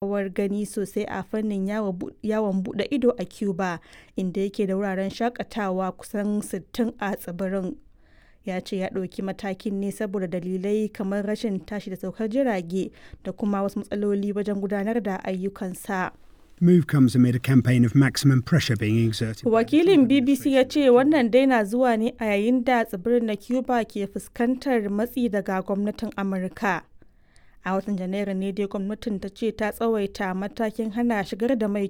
Rawar gani sosai a fannin yawon buɗe ido a Cuba, inda yake da wuraren shakatawa kusan 60 a tsibirin. Ya ce ya ɗauki matakin ne saboda dalilai kamar rashin tashi da saukar jirage da kuma wasu matsaloli wajen gudanar da ayyukansa. The move comes amid a campaign of maximum pressure being exerted. Wakilin BBC ya ce wannan dai na zuwa ne a yayin da tsibirin na Cuba ke fuskantar matsi daga gwamnatin Amurka. A watan Janairu ne dai gwamnatin ta ce ta tsawaita matakin hana shigar da mai